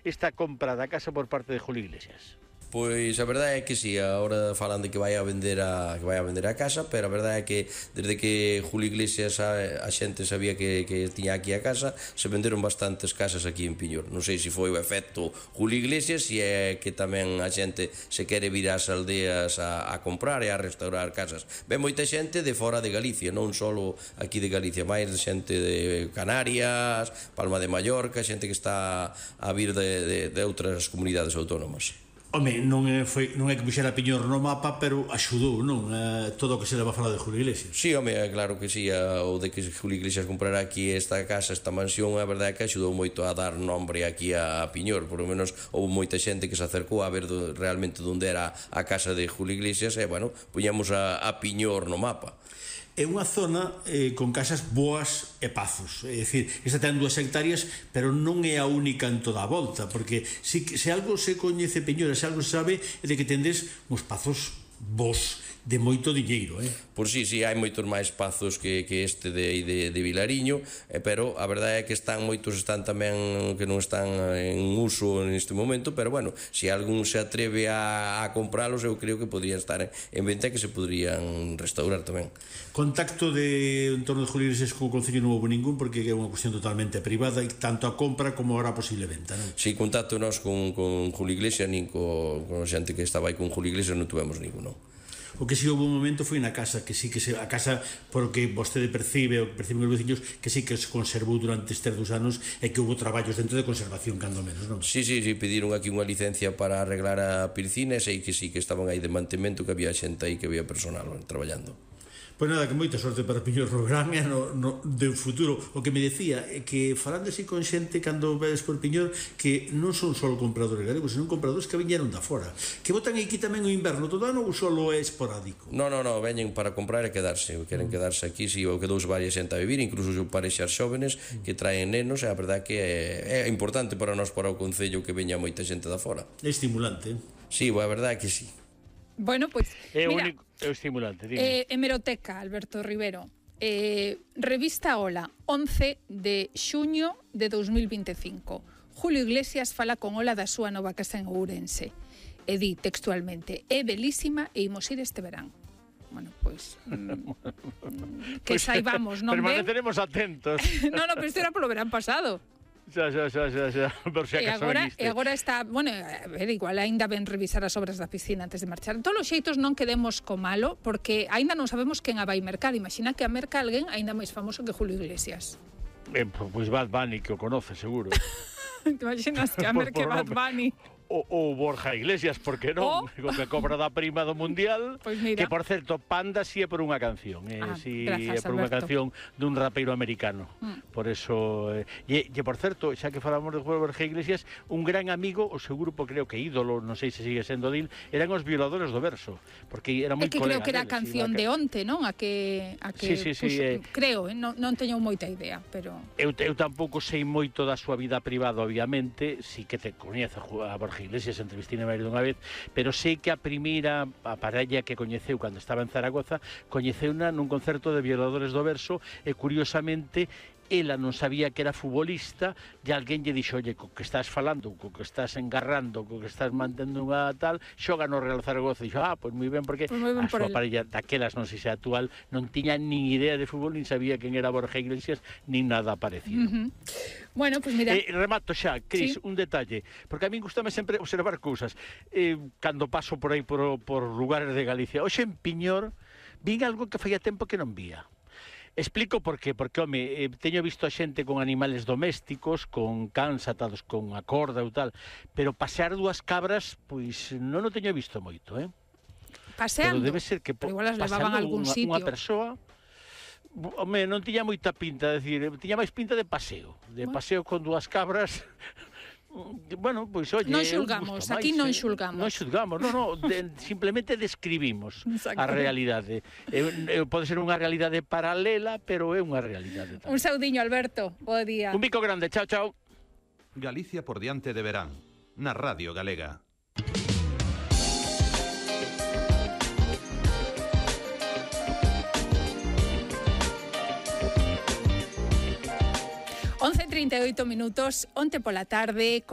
esta compra da casa por parte de Julio Iglesias? Pois a verdade é que si, agora falan de que vai a vender a casa, pero a verdade é que desde que Julio Iglesias a xente sabía que tiña aquí a casa, se venderon bastantes casas aquí en Piñor. Non sei se foi o efecto Julio Iglesias, se é que tamén a xente se quere vir ás aldeas a comprar e a restaurar casas. Ven moita xente de fora de Galicia, non só aquí de Galicia, máis xente de Canarias, Palma de Mallorca, xente que está a vir de outras comunidades autónomas. Home, non é que puxera Piñor no mapa, pero axudou, non? Todo o que se leva a falar de Julio Iglesias. Sí, home, claro que sí, o de que Julio Iglesias comprara aquí esta casa, esta mansión, a verdade é que axudou moito a dar nombre aquí a Piñor, por lo menos houve moita xente que se acercou a ver realmente onde era a casa de Julio Iglesias e, bueno, puñamos a Piñor no mapa. É unha zona con casas boas e pazos, é dicir, esta ten 2 hectáreas, pero non é a única en toda a volta, porque se algo se coñece Piñor, se algo se sabe, é de que tendes uns pazos bons, de moito diñeiro, Pois sí, hai moitos máis pazos que este de Vilariño, pero a verdade é que moitos están tamén que non están en uso neste momento, pero bueno, se algún se atreve a compralos, eu creo que podrían estar en venta e que se podrían restaurar tamén. Contacto en torno de Julio Iglesias co Concello non houve ningún, porque é unha cuestión totalmente privada, e tanto a compra como ahora a posible venta, non? Si, contacto nós con Julio Iglesias, nin con xente que estaba aí con Julio Iglesias non tuvemos ninguno. O que si houve un momento foi na casa, que sí que a casa, porque vostede percibe, o que perciben os veciños, que sí que se conservou durante estes 2 anos e que houve traballos dentro de conservación, cando menos, non? Sí, pediron aquí unha licencia para arreglar a piscina e sei que sí, que estaban aí de mantemento, que había xente aí, que había personal traballando. Pois nada, que moita sorte para Piñor no gran e no futuro. O que me decía é que falando así con xente cando vedes por Piñor, que non son só compradores galegos, senón compradores que viñeron da fora, que botan aquí tamén o inverno todo ano ou só é esporádico? Non, veñen para comprar e quedarse, queren quedarse aquí, si ou quedou varias xente a vivir, incluso parexas xóvenes que traen nenos, e a verdade que é importante para nós, para o Concello, que veña moita xente da fora. É estimulante. Si, a verdade que si. Bueno, pois, mira, é estimulante, dime. Hemeroteca, Alberto Rivero, revista Ola, 11 de xuño de 2025. Julio Iglesias fala con Ola da súa nova casa en Ourense. E di textualmente: é belísima e imos ir este verán. Bueno, pois que saibamos, non ve? Permaneceremos atentos. No, pero isto era polo verán pasado. Xa, por si acaso veniste. E agora está, bueno, a ver, igual aínda ben revisar as obras da piscina antes de marchar. En todos os xeitos non quedemos co malo, porque aínda non sabemos quen a vai mercar. Imagina que a merca alguén aínda máis famoso que Julio Iglesias. Pois Bad Bunny, que o conoce, seguro. Te imaginas que a merca Bad Bunny... ou Borja Iglesias, porque non? Que cobra da prima do Mundial, pues mira. Que, por certo, Panda si é por unha canción, si é por unha canción dun rapeiro americano. Por eso, e por certo, xa que falamos de Borja Iglesias, un gran amigo, o seu grupo, creo que ídolo, non sei se sigue sendo dil, eran os Violadores do Verso, porque era moi colega. É que creo que era a canción de onte, non? A que sí, creo, non teño moita idea, pero... Eu tampouco sei moito da súa vida privada, obviamente, si que te coñece a Borja Iglesias, entrevistine máis dunha vez, pero sei que a parella que coñeceu cando estaba en Zaragoza, coñeceuna nun concerto de Violadores do Verso, e curiosamente ela non sabía que era futbolista, e alguén lle dixo: oye, co que estás falando, co que estás engarrando, co que estás mantendo unha tal, xoga no Real Zaragoza. E dixo: pois moi ben, porque a súa parella daquelas, non sei se actual, non tiña nin idea de fútbol, nin sabía quen era Borja Iglesias, nin nada parecido. Bueno, pois mira... Remato xa, Cris, un detalle, porque a min gustame sempre observar cousas. Cando paso por aí por lugares de Galicia, hoxe en Piñor, vin algo que faía tempo que non vía. Explico por qué, porque, home, teño visto a xente con animales domésticos, con cans atados con a corda ou tal, pero pasear 2 cabras, pois non o teño visto moito, Paseando? Pero debe ser que pero igual as levaban a algún sitio. Unha persoa, home, non tiña moita pinta, decir, tiña máis pinta de paseo, paseo con 2 cabras. Bueno, pois, oye, non xulgamos, aquí non xulgamos. Non xulgamos, simplemente describimos a realidade. Pode ser unha realidade paralela, pero é unha realidade tamén. Un saudiño, Alberto, bo día. Un bico grande, chao. Galicia por diante de verán, na Radio Galega. Once 38 minutos, onte pola tarde,